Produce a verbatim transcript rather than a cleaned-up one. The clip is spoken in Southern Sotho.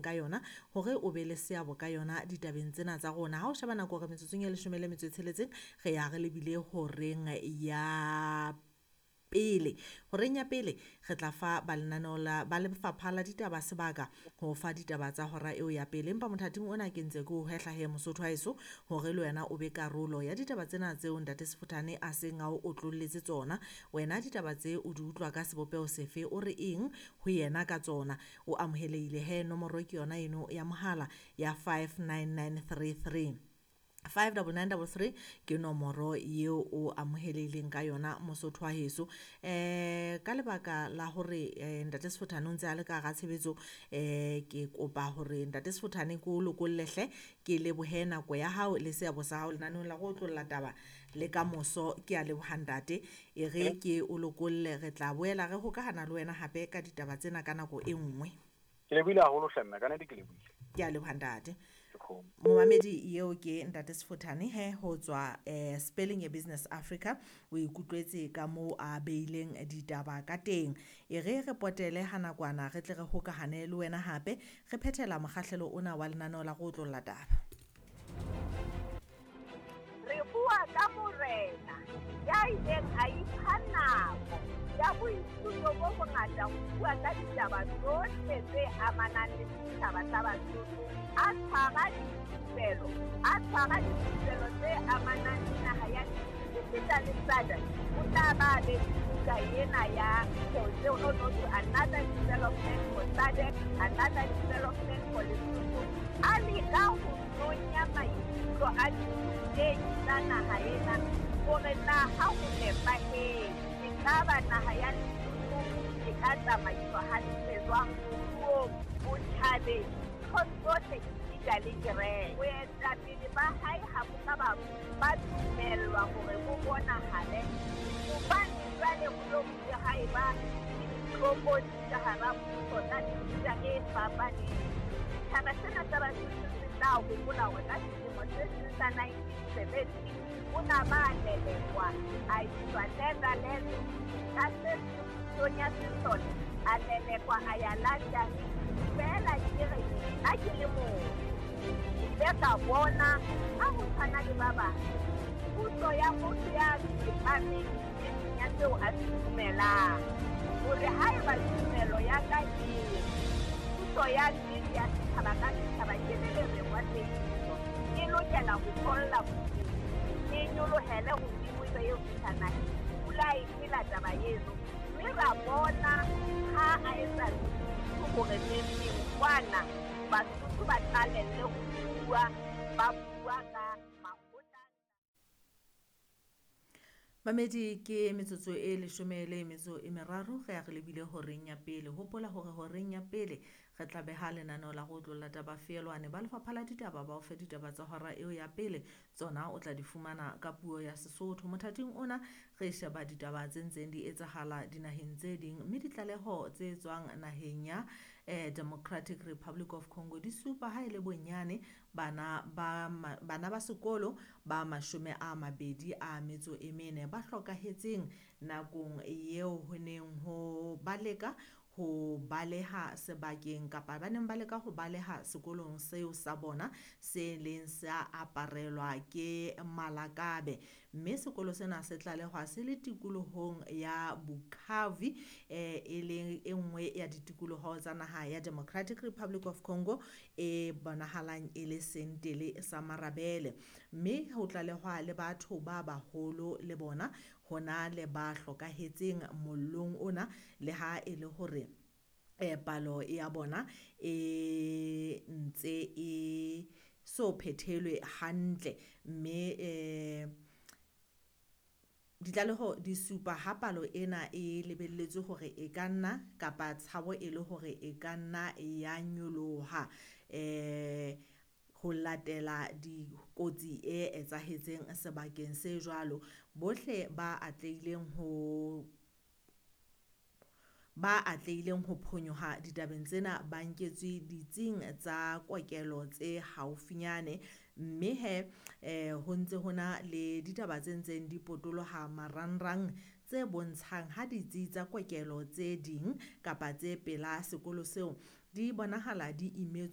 ka yona hore o be le seabo ka yona ditabeng tsena tsa rona. Ha o sheba nako hore metsotsong e leshome le metso e tsheletseng re ya re lebile horeng ya pele. Horeng ya pele re tla fa ba lenaneo la ba lefapha la ditaba sebaka ho fa ditaba tsa hora eo ya pele. Empa mothating ona ke ntse ke o hwehla he Mosotho wa heso hore le wena o be karolo ya ditaba tsena tseo Ntate Sefothane a seng a o otlolletse tsona. Wena ditaba tse o di utlwa ka sebopeho sefe, o re eng ho yena ka tsona? O amohelehile he, nomoro ke yona eno ya mohala ya five nine nine three three. five double nine double three ke nomoro eo o amohelehileng ka yona Mosotho wa heso. Eh ka lebaka la hore eh, Ntate Sefothane o ntse a le ka hara tshebetso, eh ke kopa hore Ntate Sefothane ke o lokolle hle, ke lebohe nako ya hao le seabo sa hao lenaneong la go otlolla taba le ka moso. Ke a leboha ntate, e re ke o lokolle, re tla boela re hokahana le wena hape ka ditaba tsena ka nako e nngwe. Ke lebohile haholo hle mme, ka nnete ke lebohile. Ke a leboha ntate. Momamedi eo ke Ntate Sefothane he ho tswa eh, Spelling ya Business Africa. O ikutlwetse ka moo a beileng ditaba ka teng. E re re potele ha nakwana re tle re hokahane le wena hape re phethela mokgahlelo ona wa lenaneo la go otlolla taba. Re bua ka morena ya ileng a ipha nako ya boithuto bo bongata ho bua ka ditaba tsohle tse amanang le setjhaba sa Basotho, a tshwara dithupelo, a tshwara dithupelo tse amanang le naha ya esita le SADC. O tla ba be le buka ena ya tseo no no to another development for SADC, another development for Lesotho. A leka ho nonya maikutlo a dithutehi tsa naha ena hore na ha ho nepahetse ekaba naha ya Lesotho e ka tsamaiswa hantle jwang moruong, botjhabeng, nthong tsohle esita le kereke. Boetapele ba hae ha bo ka ba ba dumellwa hore bo bonahale hobane jwale ho lo bile ha eba le ditlokotsi ka hara puso tsa mefuta e fapaneng. Setjhaba sena sa Basotho se tla hopola hore ka selemo se seng sa nineteen seventy o na ba lelekwa a iswa Netherlands, ka se pusong ya sesole a lelekwa a ya London. Feela ke re nna ke le motho ke ile ka bona ha ho tshwana le ba bang puso ya motho ya tsepameng nneteng ya seo a se dumelang, hore haeba tumelo ya ka e puso ya nnete ya setjhaba ka setjhaba ke le lereng wa tsebiso e lokela ho tholla bodimo, e nyolohele hodimo ebe eo fihla naheng. Pula e phela taba eno, mme ra bona ha a etsa hore neng kwana Basotho ba qalelle ho bua, ba bua ka makgotla. Mamedi, ke metsotso e leshome le metso e meraro re ya re lebile horeng ya pele. Hopola hore horeng ya pele re tla beha lenaneo la go otlolla taba feelwane. Ba lefapha la ditaba ba o fe ditaba tsa hora eo ya pele, tsona o tla di fumana ka puo ya Sesotho. Mothating ona re sheba ditaba tse ntseng di etsahala dinaheng tse ding, mme ditlaleho tse tswang naheng ya eh, Democratic Republic of Congo di supa ha e le bonyane bana ba bana ba sekolo ba mashome a mabedi a metso e mene ba hlokahetseng nakong eo ho neng ho baleka ho baleha sebakeng kapa ba neng ba leka ho baleha sekolong seo sa bona se leng sa aparelwa ke malakabe. Mme sekolo sena se tlalehwa se le tikolohong ya Bukavu, eh, e leng e nngwe ya ditikoloho tsa naha ya Democratic Republic of Congo e bonahalang e le sentele sa marabele. Mme ho tlalehwa le batho ba baholo le bona hona le ba hlokahetseng mollong ona, le ha e le hore eh, palo ya bona e ntse e so phethelwe hantle. Mme eh, ditlaleho di supa ha palo ena e lebelletswe hore e ka nna kapa tshabo e le hore e ka nna ya nyoloha eh ho latela dikotsi e etsahetseng sebakeng se jwalo. Bohle ba atlehileng ho ba atlehileng ho phonyoha ditabeng tsena ba nketswe ditsing tsa kokelo tse haufinyane. Mme he eh, ho ntse hona le ditaba tse ntseng di potoloha marangrang tse bontshang ha ditsi tsa kokelo tse ding kapa tse pela sekolo seo di bonahala di imetswe